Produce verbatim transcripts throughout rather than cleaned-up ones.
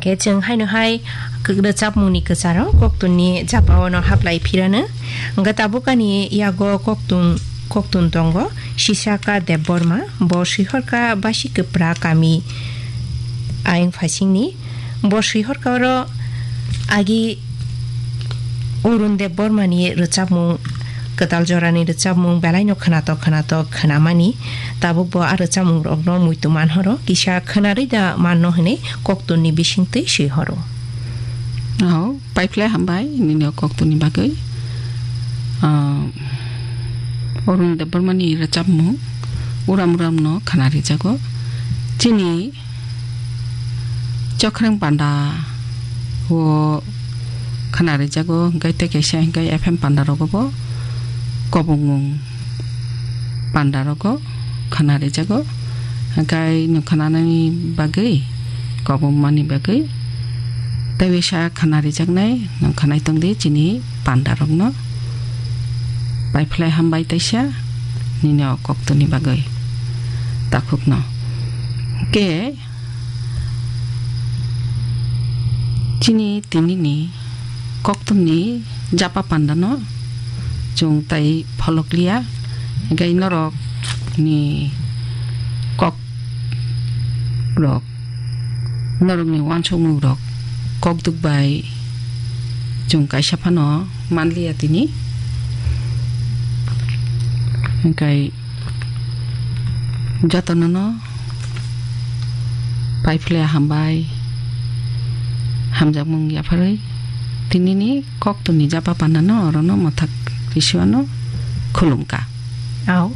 Khe chwng haino hai kwk-, rwchapmungni kwcharo koktwmni japao no haplai phirano. Hwnkhe tabukani yago koktwm, koktwm tongo Sisaka Debbarma, bo swihorka Basi Kwpra kami ayang phasingni. Bo swihorka oro agi Arun Debbarmani rwchapmung, kwtal jorani rwchapmung belaino khwnatok khwnatok khwnamani. Tabuk bo a rwchapmungrokno muitu manhoro, kisa khwnarwi da manno hwnwi koktwmni bisingtwi swihoro. Oh, paiphlai hambai nini o koktwmni bagwi. Ah, Arun Debbarmani rwchapmung uram uramno khwnarijago. Chini Chokhreng panda o khwnarijago, hwnkhe tei kaisa hwnkhe F M panda rogo bo kobongmung panda rogo khwnarijago, hwnkhe nwng khwnanani bagwi, kobongmani bagwi tei bisa khwnarijaknai nwng khwnai tongdi chini panda rokno. Paiphlai hambai taisa nini o koktwmni bagwi takhukno. Hwnkhe Chini tinini koktwmni japa pandano chwng tai pholokliya, hwnkhe norokni kok rok, norokni uansukmung rok kokduk bai chwng kaisa phano manliya tini, hwnkhe jotono no paiphlai hambai, hamjakmung yapharwi tinini koktwmni japa pandano orono mwthak risiwano khulumkha. Au,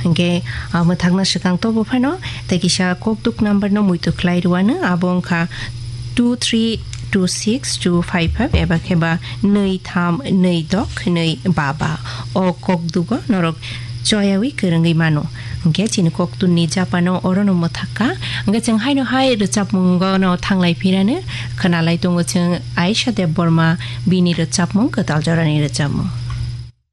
hwnkhe, ah, mwthakna swkang tobo phano tei kisa kokduk number no muitu khlai rwano, abo wngkha two three two six two five five eba kheba nui tham nui dok nui ba ba. O kokdugo norok choyawi kwrwngwi mano. Hwnkhe chini koktwmni japano orono mwthakha. Hwnkhe chwng haino hai rwchapmungo no thanglai phirano khwnalai tongo chwng Aisha Debbarma bini rwchapmung kwtal jorani rwchapmung.